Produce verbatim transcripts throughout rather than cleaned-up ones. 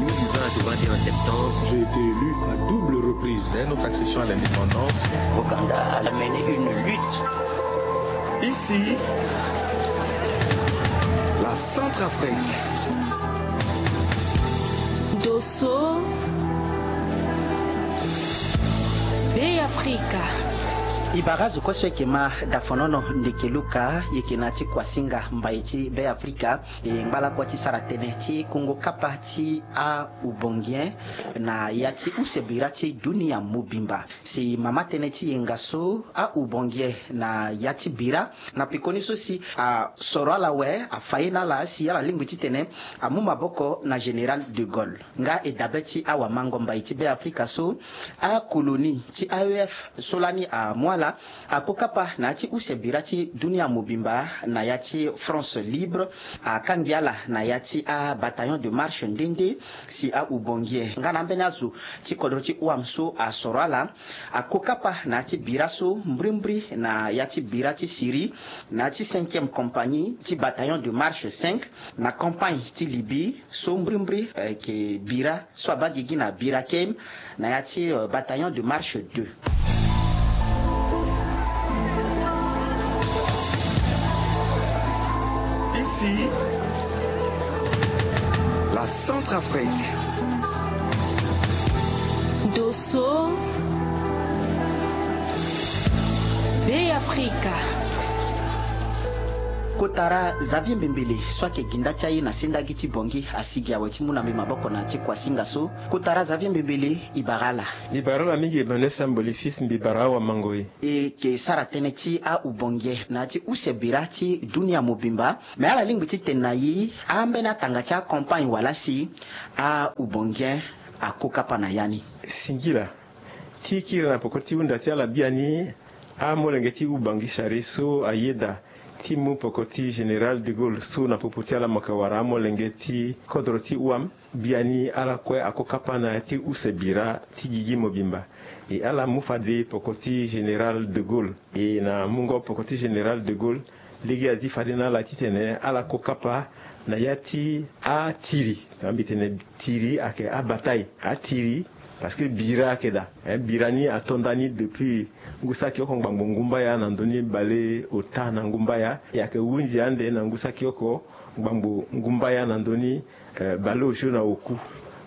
Du vingt au vingt et un septembre, j'ai été élu à double reprise. Dès notre accession à l'indépendance, Ouganda a mené une lutte. Ici, la Centrafrique. Dosso, Bêafrika. E bara azo kue so ayeke ma dafonono ndeke Luka, e yeke na ya ti kuasinga mbai ti Bêafrika. E ngba lakua ti sara tënë ti kungo kapa ti aubongien na ya ti use bira ti dunia mobimba. Si mama tënë ti yenga so aubongien na ya ti bira na pekoni so si asoro ala awe, afa ye na ala si ala lingbi titene amu maboko na général de Gaulle. Nga e dabe ti awamango mbai ti Bêafrika so, akolonie ti A E F so lani amu ala, akokapa na ya ti use bira ti dunia mobimba na ya ti France libre, akangbi ala na ya ti abataillon de marche nde nde. Si aubongien nga na ambeni azo ti kodro ti wam so asoro ala, akokapa na ya ti bira so mbrimbri na ya ti bira ti Syrie, na ya ti cinquième compagnie ti bataillon de marche cinq, na campagne ti Libye so mbrimbri, eh, ayeke bira so abaa gigi na bira kem na ya ti, euh, bataillon de marche deux. Ici, la Centrafrique. Dosso, Bêafrika. Kotara Xavier Mbembele so ayeke ginda ti aye na sendagi ti Bangui asigi awe ti mu na mbi maboko na ya ti kuasinga so. Kotara Xavier Mbembele, e bara ala. Mbi bara ala mingi Emmanuel Samboli Fils, mbi bara awamango e. E yeke sara tënë ti aubongien na ya ti use bira ti dunia mobimba. Me ala lingbi titene na e, ambeni atanga ti acampagne wala si aubongien akokapa na ya ni? Singila. Ti kiri na poko ti hunda ti ala biani, amolenge ti Ubangui Chari so ayeda ti mu poko ti général de Gaulle so na popo ti ala mo yeke wara amolenge ti kodro ti wam. Biani ala kue akokapa na ya ti use bira ti gigi mobimba. E ala mu fade poko ti général de Gaulle. E na mungo poko ti général de Gaulle, lege azi fade na ala titene ala kokapa na ya ti atiri. Tongana mbi tene tiri ayeke abataille. Atiri, parce que bira ayeke daa. Eh, bira ni ato nda ni depuis ngu saki oko ngbangbo ngumbaya na ndö ni bale ota na ngumbaya. E ayeke hunzi ande na ngu saki oko ngbangbo ngumbaya na ndö ni, eh, bale osio na oku.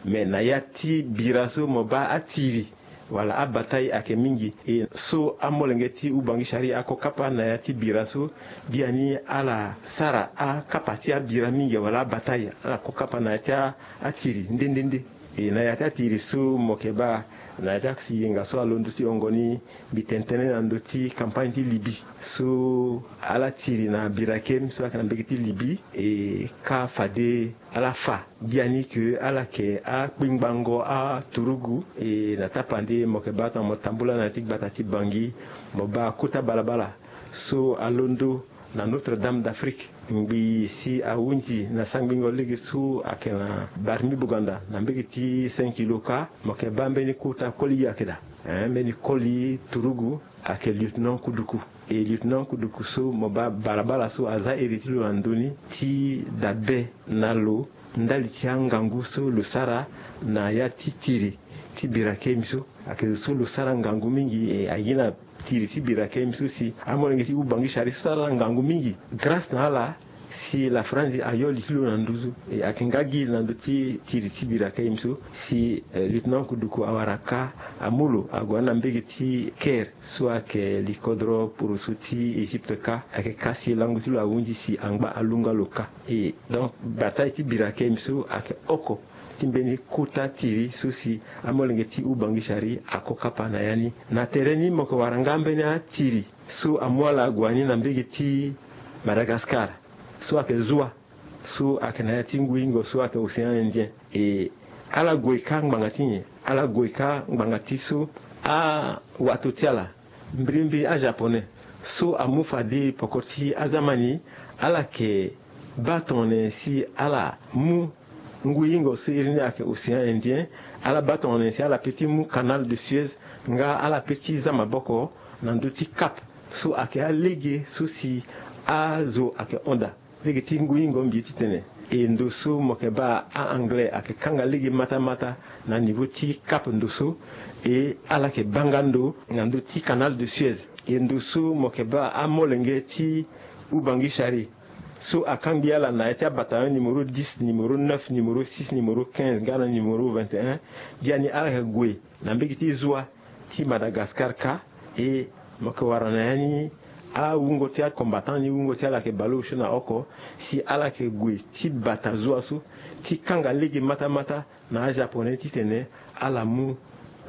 Me na ya ti bira so mo baa atiri wala abataille ayeke mingi. E so amolenge ti Ubangui Chari akokapa na ya ti bira so, biani ala sara akapa ti abira mingi wala abataille, ala kokapa na ya ti a, atiri nde nde nde. E na ya ti atiri so mo yeke baa na ya ti ayenga so alondo ti hongo ni, mbi tene tënë na ndö ti campagne ti Libye so ala tiri na bira kem so ayeke na mbege ti Libye, e ka fade ala fa. Biani ke ala yeke akpingbango aturugu. E na tapande mo yeke baa tongana mo tambula na ya ti gbata ti Bangui, mo baa kota balabala so alondo na Notre-Dame d'Afrique. Ngbii si ahunzi na sangbingo lege so ayeke na Barmi Buganda na mbege ti cinq kilo kâ, mo yeke baa mbeni kota koli ayeke daa. Eh, mbeni koli turugu ayeke lieutenant Kuduku. E lieutenant Kuduku so mo baa balabala so aza iri ti lo na ndö ni ti dabe na lo ndali ti angangu so lo sara na ya ti tiri ti bira kemi so. Ayeke zo so lo sara ngangu mingi, e aye na tiri ti bira kemi so si amolenge ti Ubangui Chari so sara ngangu mingi. Grâce na ala si la France ayo li ti lo na nduzu. E ayeke nga gi na ndö ti tiri ti bira kemi so si, eh, lieutenant Kuduku awara kâ amu lo ague na mbege ti Caire so ayeke li kodro poroso ti Égypte kâ. Ayeke kâ si lango ti lo ahunzi si angba alunga lo kâ. E donc bataille ti bira kemi so ayeke oko ti mbeni kota tiri so si amolenge ti Ubangui Chari ako kapa na ya ni. Na tere ni mo yeke wara nga mbeni atiri so amu ala ague ni na mbege ti Madagascar so ayeke zua so ayeke na ya ti ngu-ingo so ayeke Océan Indien. E ala gue kâ ngbanga ti nyen? Ala gue kâ ngbanga ti so awato ti ala, mbirimbiri ajaponais so amu fade poko ti aza ma ni, ala yeke baa tongana nyen si ala mu ngu-ingo so iri ni ayeke Océan Indien. Ala baa tongana nyen si ala peut ti mu Canal de Suez, nga ala peut ti za maboko na ndö ti Cap so ayeke alege so si azo ayeke hon daa. Lege ti ngu-ingo mbi ye ti tene E ndo so mo yeke baa a-anglais ayeke kanga lege matamata na niveau ti Cap ndo so. E ala yeke baa nga ndo na ndö ti Canal de Suez. E ndo so mo yeke baa amolenge ti Ubangui Chari so akangbi ala na ya ti abataillon numéro dix, numéro neuf, numéro six, numéro quinze nga na numéro vingt et un. Biani ala yeke gue na mbege ti zua ti Madagascar kâ. E mo yeke wara na ya ni awungo ti acombattant ni, wungo ti ala yeke baleosio na oko, si ala yeke gue ti bata zua so ti kanga lege matamata na ajaponais titene ala mu,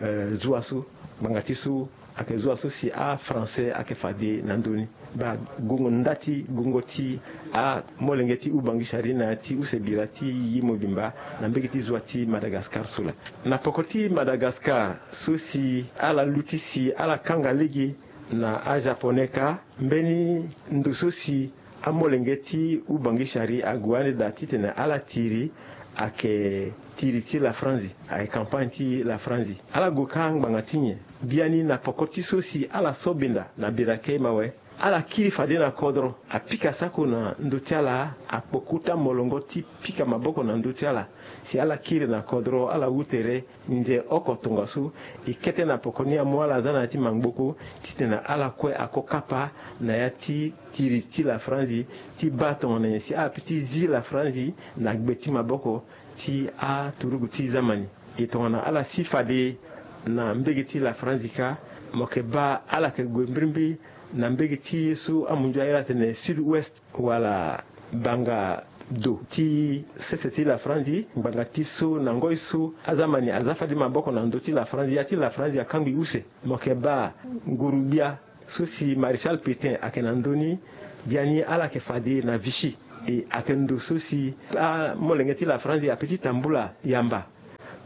eh, zua so. Ngbanga ti so ayeke zua so si afrançais ayeke fade na ndö ni. Baa gongo nda ti gongo ti amolenge ti Ubangui Chari na ya ti use bira ti gigi mobimba na mbege ti zua ti Madagascar so laa. Na poko ti Madagascar so si ala luti si ala kanga lege na ajaponais kâ, mbeni ndo so si amolenge ti Ubangui Chari ague ande daa titene ala tiri ayeke tiri ti lafranzi, ayeke campagne ti lafranzi. Ala gue kâ ngbanga ti nyen? Biani na poko ti so si ala sobinda na bira kei mawe, ala kiri fade na kodro, apika sako na ndö ti ala, akpo kota molongo ti pika maboko na ndö ti ala. Si ala kiri na kodro, ala wu tere, nze oko tongaso, e kete na poko ni amu ala aza na ya ti mangboko titene ala kue ako kapa na ya ti tiri ti lafranzi, ti baa tongana nyen si ape ti zi lafranzi na gbe ti maboko ti aturugu ti zamani. E tongana ala si fade na mbege ti lafranzi kâ, mo yeke baa ala yeke gue mbirimbiri na mbege ti ye so amunzu airi atene sud-ouest wala banga do ti sese ti lafranzi, ngbanga ti so na ngoi so azamani aza fade maboko na ndö ti lafranzi, ya ti lafranzi akangbi use. Mo yeke baa nguru-gbia so si Maréchal Pétain ayeke na ndö ni, biani ala yeke fade na Vichy. E ayeke ndo so si amolenge ti lafranzi ape ti tambula yamba.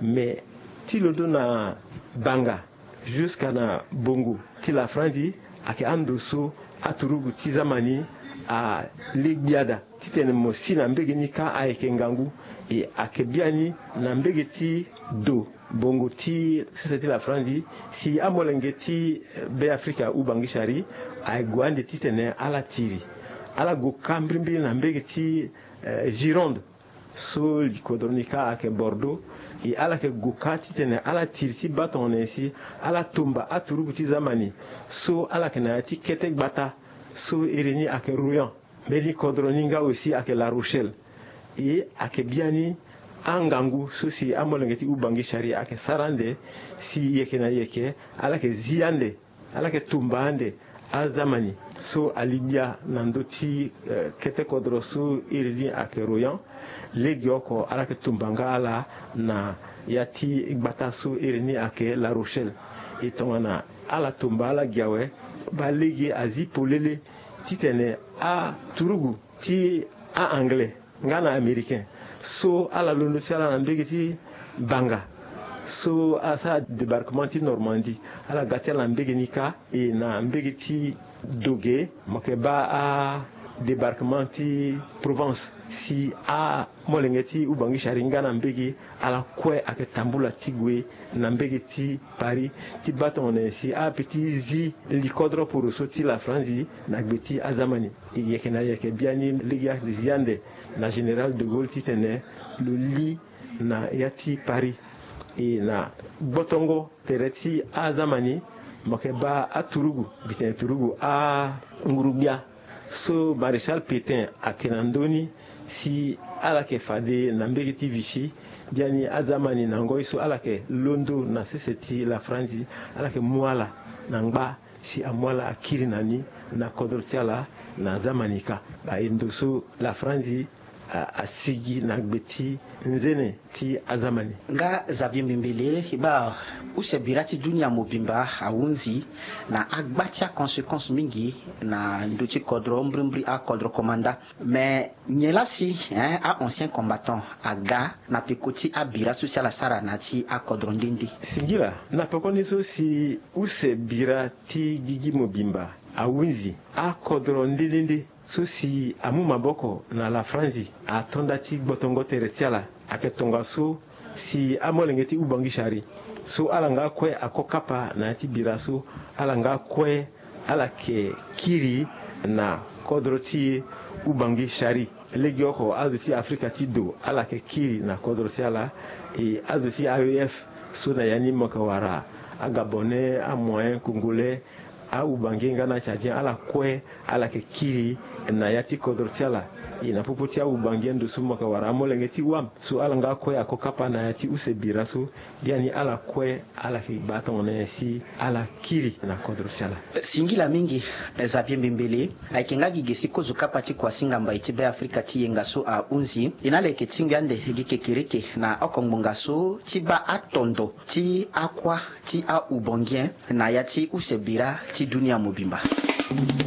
Me ti londo na banga jusqu'à na bongo ti lafranzi, ayeke ando so aturugu ti zamani ale gbia daa titene mo si na mbege ni kâ ayeke ngangu. E ayeke biani na mbege ti do bongo ti sese ti lafranzi, si amolenge ti, eh, Beafrika Ubangui Chari ague ande titene ala tiri. Ala gue kâ mbirimbiri na mbege ti, eh, Gironde so likodro ni kâ ayeke Bordeaux. E ala yeke gue kâ titene ala tiri ti baa tongana nyen si ala tomba aturugu ti zamani so ala yeke na ya ti kete gbata so iri ni ayeke Royan. Mbeni kodro ni nga aussi ayeke La Rochelle. E ayeke biani angangu so si amolenge ti Ubangui Chari ayeke sara ande, si yeke na yeke ala yeke zi ande, ala yeke tumba ande azamani so ali gbia na ndö ti, eh, kete kodro so iri ni ayeke Royan. Legeoko ala yeke tumba nga ala na ya ti gbata so iri ni ayeke La Rochelle. E tongana ala tumba ala gi awe, baa lege azi polele titene aturugu ti a-anglais nga na américain so ala londo ti ala na mbege ti banga so asara débarquement ti Normandie, ala ga ti ala na mbege ni kâ. E na mbege ti do ge mo yeke baa adébarquement ti Provence, si amolenge ti Ubangui Chari nga na mbege, ala kue ayeke tambula ti gue na mbege ti Paris ti baa tongana nyen si ape ti zi likodro poroso ti lafranzi na gbe ti azamani. E yeke na yeke biani lege azi ande na général de Gaulle titene lo li na ya ti Paris. E na gbotongo tere ti azamani, mo yeke baa aturugu, gi tene turugu anguru-gbia so Maréchal Pétain ayeke na ndö ni, si ala yeke fade na mbege ti Vichy. Biani azamani na ngoi so ala yeke londo na sese ti lafranzi, ala yeke mu ala na ngba si amu ala akiri na ni na kodro ti ala na zamani kâ. Baa e ndo so lafranzi a, asigi na gbe ti nzene ti azamani. Nga Xavier Mbembele, e baa use bira ti dunia mobimba ahunzi na agba ti aconséquence mingi na ndö ti kodro, mbirimbiri akodro komanda. Mais nyen laa si, hein, a-ancien combattant aga na peko ti abira so si ala sara na ya ti akodro nde nde? Singila, na pekoni so si use bira ti gigi mobimba ahunzi akodro nde nde nde so si amu maboko na lafranzi ato nda ti gbotongo tere ti ala. Ayeke tongaso si amolenge ti Ubangui Chari so ala nga kue ako kapa na ya ti bira so, ala nga kue ala yeke kiri na kodro ti ubangi shari. Legeoko azo ti afrika ti do ala yeke kiri na kodro ti ala. E azo ti aef so na ya ni mo yeke wara agabonais, amoyen congolais, awubange nga na tchadien ala kue ala yeke kiri na ya ti kodro ti ala. E na popo ti awubange ndo so mo yeke wara amolenge ti wam so ala nga kue ako kapa na ya ti use bira so. Biani ala kue ala yeke baa tongana nyen si ala kiri na kodro ti ala. Singila mingi. Xavier Mbembele ayeke nga gi ge si kozo kapa ti kuasinga mbai ti Beafrika ti yenga so ahunzi. E na ala yeke tingbi ande gi kekereke na oko ngbonga so ti baa atondo ti akua ti aubangien na ya ti use bira ti dunia mobimba.